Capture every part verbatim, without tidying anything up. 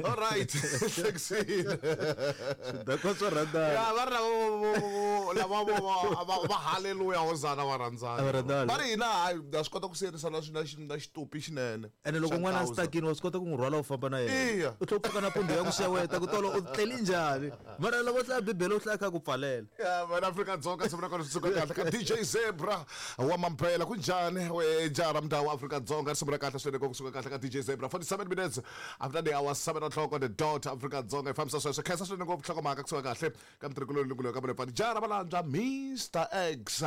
All right. Hlekisile. Swidakwa swo rhandzana. Ya va ri lava lava va va haleluya hosana va rhandzana. Va rhandzana. Va ri hina hayi ha swi kota ku siyerisana na na na xitupi xinene. Ene loko n'wana a stakini wa swi kota ku n'wi rhwala u famba na yena. Iya. U tlhela u pfuka nampundzu ya ku xeweta ku tolo u tleli njhani. Mara loko u hlaya Bibele u hlaya kha ku pfalela. Ya wena Afrika-Dzonga siku ra kona swi suka kahle ka D J Zebra wa Mampela ku njhani we jara mntawu wa Afrika-Dzonga siku ra kahle swinene ku suka kahle ka D J Zebra forty-seven minutes after the hour seven o'clock on the dot Afrika-Dzonga i fambisa sweswo khensa swinene ngopfu nhlokomhaka kusuka kahle ka mtirhikulu lungulo ka Malepfani jara Malandza Mister X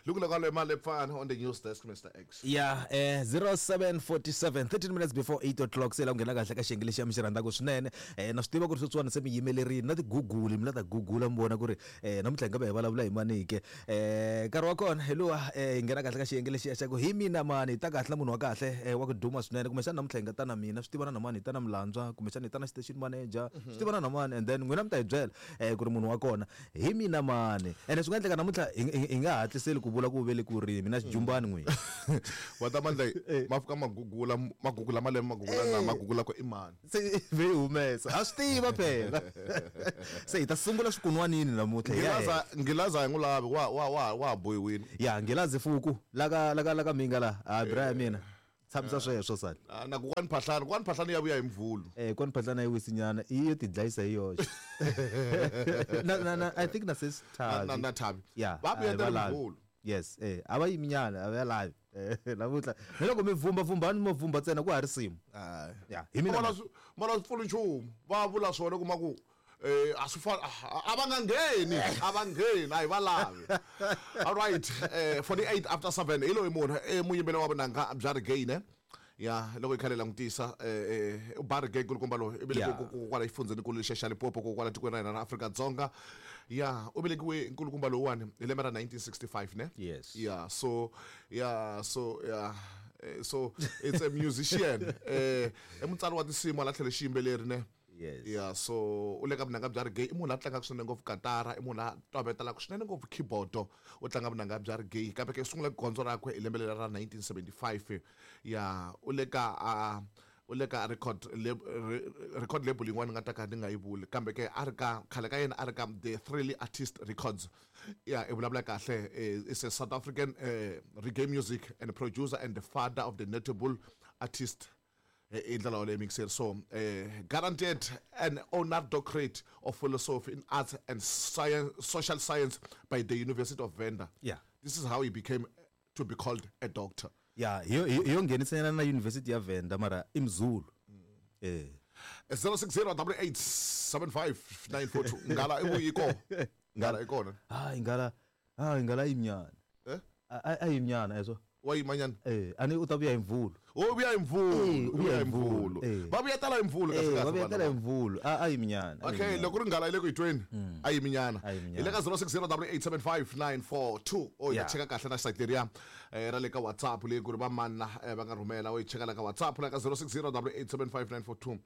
lungulo ka Malepfani on the news desk Mister X. Yeah, eh zero seven forty-seven thirteen minutes before eight o'clock se la ku nghena kahle ka xiyenge lexi ya mi xi rhandzaka swinene. Eh na swi tiva ku ri sweswiwani se mi yimelerile na ti-Google mi la ta Google mi vona ku ri eh namuntlha hi nga va hi vulavula hi mani ke. Eh nkarhi wa kona hi luwa eh hi nghena kahle ka xiyenge lexi xa ku hi mina mani hi ta kahle na munhu wa kahle eh wa ku duma swinene kumbexana namuntlha hi nga ta na mina swi tivana na mani hi ta na Mlandzwa kumbexana hi ta na station manager swi tivana na mani and then n'wina mi ta hi byela eh ku ri munhu wa kona hi mina mani ene swi nga endleka namuntlha hi hi nga hatliseli ku vula ku vele ku ri mina xijumbani n'wina. Wa ta mandla ma fika ma gugula ma gugula malembe ma gugula na ma gugula ku i mani se ve humesa a swi tiva phela. Se hi ta sungula swikunwanini namuntlha. Nghilaza Nghilaza hi n'wi lavi wa wa wa wa boyiwini. Ya Nghilazi fuku laka laka laka minga la a bra ya mina tshamisa sweswo sani. Na ku kwani phahlani kwani phahlani ya vuya hi mvulu. Eh kwani phahlani yi wisinyana i yo ti dlayisa hi yoxe. Na na na I think na sis Thabi. Na na Thabi. Yeah, va vuya hi mvulu. Yes, eh a va yiminyana a va lavi. Eh namuntlha ni loko mi vumba vumbani mo vumba ntsena ku ha ri simu. Ya hi mina. Mara mara swi pfuli nchumu va vula swona kuma ku eh a swi fa a va nga ngheni a va ngheni a hi va lavi. All right, eh forty-eight after seven hi loyi munhu eh muyimbeli wa vunanga bya reggae ne. Ya loko hi khale langutisa eh u ba reggae kulukumba loyi i velekiwe ku kwala exifundzheni nkulu lexiya xa Limpopo ku kwala tikweni ra hina ra Afrika-Dzonga. Ya u velekiwe nkulukumba lowuwani hi lembe ra nineteen sixty-five ne. Yes. Yeah, so yeah, so yeah so it's a musician eh i mutsari wa tinsimu la tlhela xiyimbeleri ne. Yes. Yeah, so u le ka vunanga bya reggae i munhu la tlangaka swinene ngopfu katara i munhu la tovetelaka swinene ngopfu keyboard u tlanga vunanga bya reggae kambe ke sungula gondzo rakwe hi lembe leri ra nineteen seventy-five. Ya u le ka a u le ka record record label yin'wana nga ta ka ni nga yi vuli kambe ke a ri ka khale ka yena a ri ka The Thrilly Artist Records. Ya i vulavula kahle is a South African uh, reggae music and producer and the father of the notable artist i ndlela yoleyo mixer. So eh, guaranteed an honored doctorate of philosophy in arts and science, social science by the University of Venda. Yeah. This is how he became to be called a doctor. Yeah, hi yo nghenisanyana na University ya Venda mara i Mzulu. Eh zero six zero eight eight seven five nine four two ngala i vuyiko ngala ikona. Hayi ngala hayi ngala yimnyana. Eh a yimnyana eso. Wa yimanyana eh ani u ta vuya hi mvulu. O vuya hi mvulu, vuya hi mvulu. Va vuya tala hi mvulu kahle kahle. Va vuya tala hi mvulu, a a yiminyana. Okay, loko ri ngala ile ku yi tweni a yiminyana. Hi le ka zero six zero eight eight seven five nine four two o yi cheka kahle na site leriya ra le ka WhatsApp leyi ku ri va mani va nga rhumela o yi cheka la ka WhatsApp la ka zero six zero eight eight seven five nine four two.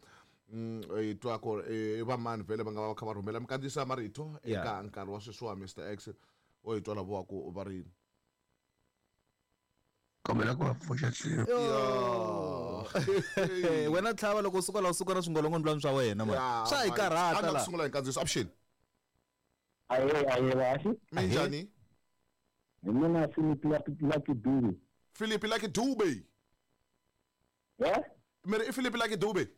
Mm i twa ku i va mani vhele va nga va kha va rhumela mikandziyiso ya marito eka nkarhi wa sweswiwa Mister X o yi twa lavo ku va ri kombela ku va pfuxa tlhelo. Wena tlhava loko u suka la u suka na swingolongondlwana swa wena mani swa hi karhata la. Sungula hi nkandziyiso option. Aye aye vaxi. Minjhani? Hi mina Philip Lucky Dube. Philip Lucky Dube. Eh? Meri i Philip Lucky Dube.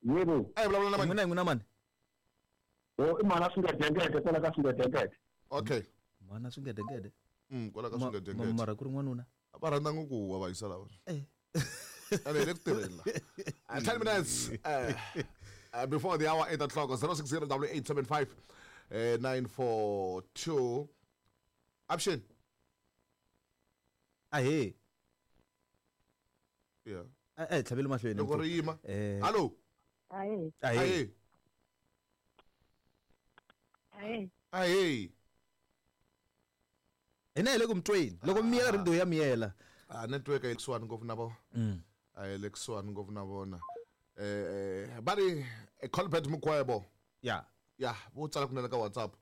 Yebo. Ay vulavula na mani. N'wina n'wina mani. Oh i mana swingedengede kwala ka swingedengede. Okay. Mana swingedengede. Mm kwala ka swingedengede. Mara ku ri n'wanuna. Va rhandza ngopfu wa va yisa lava. Eh. Ane le ku tirhela. ten minutes uh, uh, before the hour eight o'clock zero six zero eight eight seven five nine four two. Option. Ahe. Yeah. Eh tlhavele mahlweni. Loko ri yima. Hello. Ahe. Ahe. Ahe. Ahe. Hina hi le ku mutweni loko miyela radio ya miyela. Ah network a yi kusuhani ngopfu na vona. A yi le kusuhani ngopfu na vona. Eh va ri Colbert Mukwebo. Yeah. Yeah, vo tsala kunene ka WhatsApp.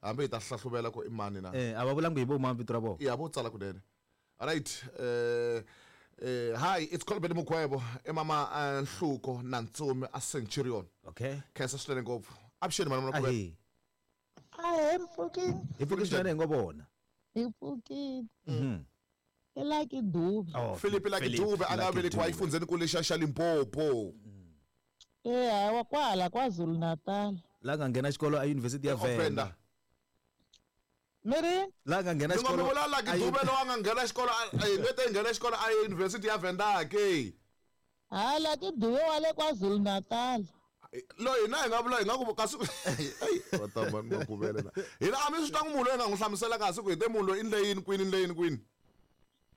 Hambi hi ta hlahluvela ku i mani na. Eh a va vulangi hi vo mani vito ra vona. Yeah, vo tsala kunene. All right. Eh Eh hi, it's Colbert Mukwebo, emama eh, Nhluko na Ntsumi a Centurion. Okay. Khensa swinene ngopfu. Avuxeni mhani Makhuvele. Ahe. Ahe mpfukini. Hi pfuke swinene hi ngo vona. Hi pfukile. Mhm. I Lucky Dube. Oh, Philip Lucky Dube a nga velekiwa efundzeni kule xa xa Limpopo. Eh hawa kwala KwaZulu Natal. La nga nghena xikolo a University ya Venda. Venda. Miri? La nga nghena Ni ngo mi xikolo. vula Lucky a uni- Dube loyi a nga nghena xikolo a hi nge te nghena xikolo a University ya Venda ke. Ha Lucky Dube wa le KwaZulu Natal. Loyi hina hi nga vula hi nga ku kasi ai wa ta mani Makhuvele na. Hina a mi swi twangi munhu loyi hi nga n'wi hlamusela kahle ku hi te munhu loyi i ndle yini kwini i ndle yini kwini.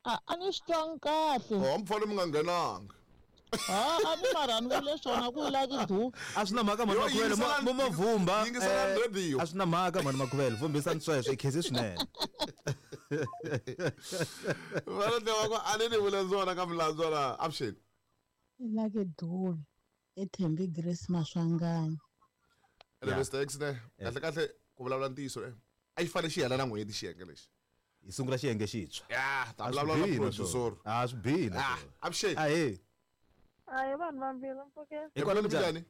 A a ni swi twangi kahle. Oh mi fanele mi nga nghenanga. Ha a ni mara ni vule swona ku i Lucky Dube. A swi na mhaka mhani Yo, Makhuvele yingiselani- mo mo vhumba. yingiselani eh, radio. A swi na mhaka mhani Makhuvele vhumbisani sweswo i khensi swinene. Va tiva ku a ni ni vule swona ka milandzu na avuxeni. I Lucky Dube. I Thembi Grace Maswanganyi. Ene Yeah. Mister X ne kahle kahle ku vulavula ntiyiso eh a yi fanele xi hela na n'hweti xiyenge lexi. Hi sungula xiyenge xintshwa. Ya ta A swi vulavula na bihi na producer. swona. A swi bihi na Ah, swona. avuxeni. Ahe. Ayi vanhu vambirhi mpfukeni. Hikwalaho Njhani? njhani?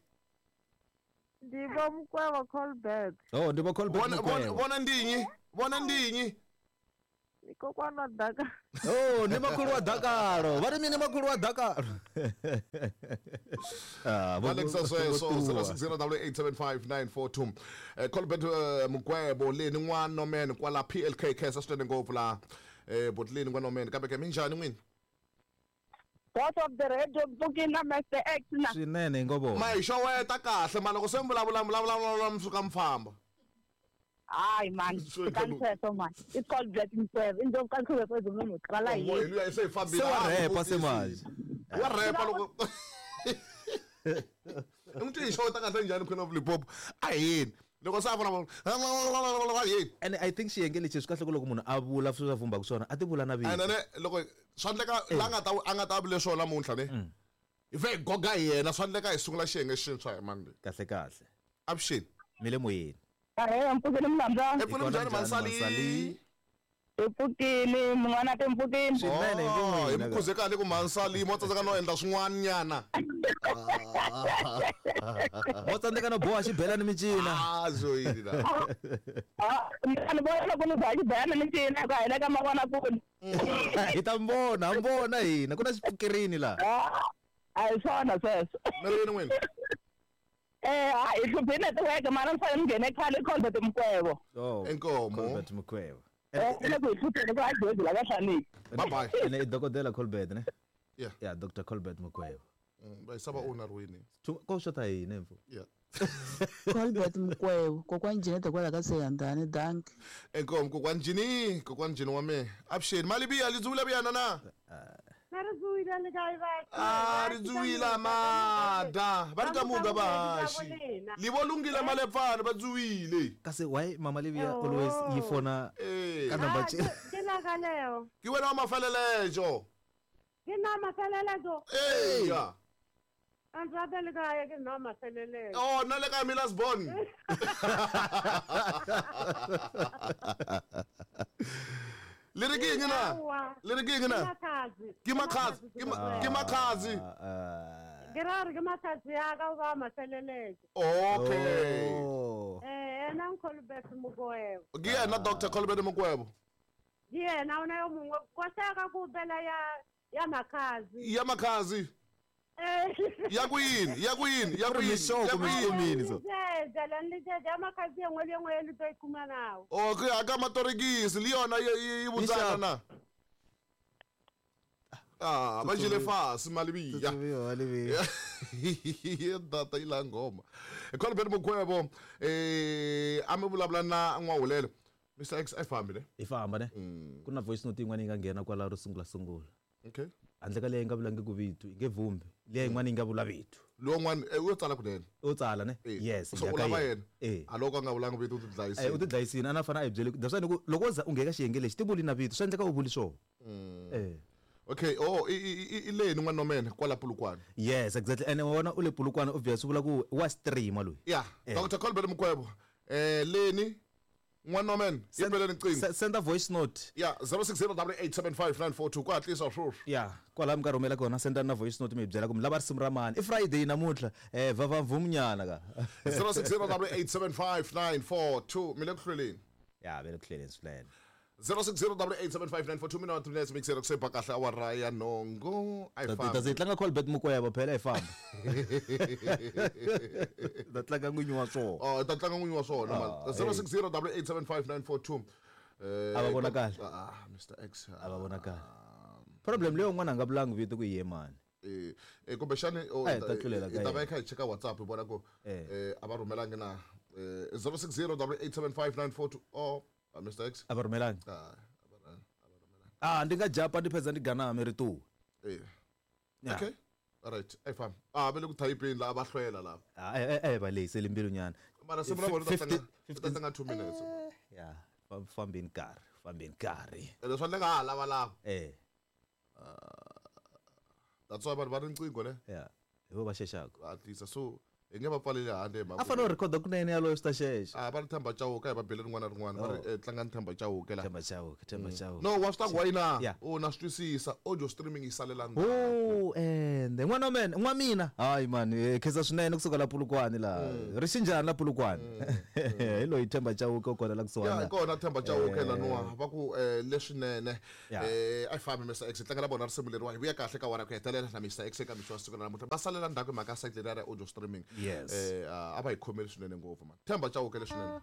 Ndi vo Mukweva Colbert. Oh, ndi vo Colbert Vona vona Mukweva. vona ndinyi, vona ndinyi. Ni kokwana wa Daka. Oh, ni makhulu wa Dakaro. Va ri mini makhulu wa Dakaro. Ah, vo- Alexa vo- sweswo vo- zero six zero double eight seven five nine four two. Eh Colbert eh, Mukwebo leni n'wana man kwala P L K K sa swinene ngopfu la eh botleni n'wana man kambe ke minjhani n'wini? Boss of the radio mpfukeni na Mister X na. Swinene hi ngo vona. Ma hi xoweta kahle ma loko se mi vulavula vulavula vulavula mi suka mi famba. Hayi man, Swi kani sweswo man. It's called Black Mukweva. Indlovu kaNkhube kwezulu qala Mo yini. hi luya se hi fambile. Se wa Ah, rhepa se muvutisi. manje. Wa rhepa loko I n'wi twi hi xoweta kahle njhani Queen of Limpopo? A hi yini. Loko se a vulavula yini? And I think xiyenge lexi swi kahle ku loko munhu a vula sweswi a vhumbaka swona a ti vula na vito. And then loko swa endleka la nga ta a nga ta vule swona namuntlha ne. Hi fe hi goga hi yena swa endleka hi sungula xiyenge xintshwa hi mani leyi. Kahle kahle. Avuxeni. Mi le moyeni. Ahe mpfukeni mlambyana. E pfuna Hi kona njhani njhani, Mansali? Mansali? Hi pfukile mun'wana te mpfukeni. Swinene hi Oh, hi n'wina mi khuze kahle ku Mansali mo tsandzeka no endla swin'wana nyana. Mo tsandzeka no boha xibelani mincina. Ah, swo yini la. Ah, ni vona loko ni boha xibelani mincina ku hela ka mavonakule. Hi ta mi vona, ha mi vona hina ku na xipfukirini la. Ah, a hi swona sweswo. Mi ri yini n'wina? Eh, hayi hi hluphe network mara ni fanele ni nghene khale Colbert Mukweva. Oh. Inkomo. Colbert Mukweva. Eh, i le ku hi hlupheni ku a George la ka hlaniki. Bye bye. Ene i dokodela Colbert ne? Yeah. Yeah, Doctor Colbert Mukweva. Mm, Va yisava owner wini. Thu- Ko xota hina mfo. Yeah. Colbert Mukweva kokwani Jeanette kwala ka Seyandani dankie. Inkomo kokwani Jini, kokwani Jini wa me. Avuxeni. Malibiya li dzuwile biyana na? Na ri dzuwile le kae batho? Ah, ri dzuwile mada. Va ri ka muga vahaxi. Li vo lunghile malepfana va dzuwile. Kasi why Mama Livia always yi fona Eh. ka number Ke la ka leo. Ke wena wa mafelelejo. Ke nna mafelelejo. Eh. Yeah. A ndzi rata le kae ke nna mafelelejo. Oh, na le ka Milas Bon. Le re ke eng na? Aowa. Le re ke eng na? Ke Ke makhazi, ke ma- ke makhazi. Ah, Ke ra re ke makhazi ya ka ba mafelelejo. Okay. Oh. Eh, ena Colbert Mukweva. Ke yena Doctor Colbert Mukwebo. Ke yena ona yo mongwe koseka ku bela ya ya makhazi. Ya makhazi. Eh. Ya ku yini? Ya ku yini? Ya ku Ri yini? mixoko, Ya ku yini? mixomini so. Lejeje, la lejeje ya makhazi e nngwe le e nngwe e le tlo e khumanago. Okay, aka matorikisi le yona yi yi- yi vutsana na. Ah, va jile fasi Malibiya. Tsutsumiwa, Livia. Ya data yi la nghoma. Colbert Mukwebo eh a mi vulavula na N'wahulelo. Mister X a fambi ne? Hi famba ne? Mm. Ku na voice note yin'wana yi nga nghena kwala ro sungula sungula. Okay. Handle ka leyi nga vulangi ku vito, yi nge vhumbi. Liya yin'wana yi nga vula vito. Lowun'wana eh, u yo tsala kunene. U tsala ne? Eh, Yes, So ya u ka lava yena. yena. Eh. A loko a nga vulangi vito u ti Eh, u dlayisile. ti dlayisini a na fana a hi byele that's why ni ku loko wo za u nghena ka xiyenge lexi ti vuli na vito swi endleka u vuli swona. Eh. Okay, oh i i i- i leni n'wana wa mina kwala Polokwane. Yes, exactly. And wa vona u le Polokwane obvious swi vula ku wa streamer loyi. Yeah, Eh. Doctor Colbert Mukwebo. Eh leni N'wana wa mina yi beleni riqingho. Send a voice note. Ya zero six zero double eight seven five nine four two ku hatlisa sweswi. Ya kwalaho mi ka rhumela kona senda na voice note mi hi byela ku mi lava risimu ra mani. I Friday namuntlha eh va vumnyana ka zero six zero double eight seven five nine four two mi le ku hlweleni. Ya ve le ku hlweleni swinene. zero six zero double eight seven five nine four two mina minutes mixer ku se ba kahle awara ya nhungu a yi Ta ze tlanga Colbert Mukweva phela hi famba. Ta tlanga n'winyi wa swona. Oh ta tlanga n'winyi wa swona man. zero six zero double eight seven five nine four two eh a va vonakali. Ah Mister X a va vonakali. Problem leyo n'wana a nga vulangi vito ku yiye mani. Eh eh kumbexani i ta va kha hi cheka WhatsApp hi vona ku eh a va rhumelangi na zero six zero double eight seven five nine four two oh Mister X a va rhumelangi. Ah ah ndi nga japa ndi phedza ndi ganame ri tu. Eh okay all right ai fam ah va le ku typeni la va hlwela la ah eh eh va lehisele mbilu nyana mara simu ra vona ta tlanga ta tlanga two minutes ya fambeni nkarhi fambeni nkarhi leswi ndzi nga ha lava lava eh that's why vanhu va ri riqingho ne ya hi vo va xexaka va hatlisa so hi nge va pfaleli handle hi mhaka a fanele u rhekhoda kunene yaloyo swi ta xexa. A va ri Themba Chauke hi va bele rin'wana na rin'wana va ri tlangani Themba Chauke la Themba Chauke Themba Chauke no wa swi ta ku wayina u na swi twisisa audio streaming yi salela ndzhaku. Oh ende n'wana wa mina n'wa mina hayi man khensa swinene kusuka la Polokwane la ri xinjhani la Polokwane hi loyi Themba Chauke u kona la kusuhana ya kona Themba Chauke la nuwa va ku leswinene eh a yi fambi Mister X tlangela vona risimu leriwa hi vuya kahle ka wara ku hetelela na Mister X eka mixo wa siku ra namuntlha va salela ndzhaku hi mhaka site leriya ra audio streaming. Yes. Eh a va hi khomeli swinene ngopfu man. Themba Chauke leswinene.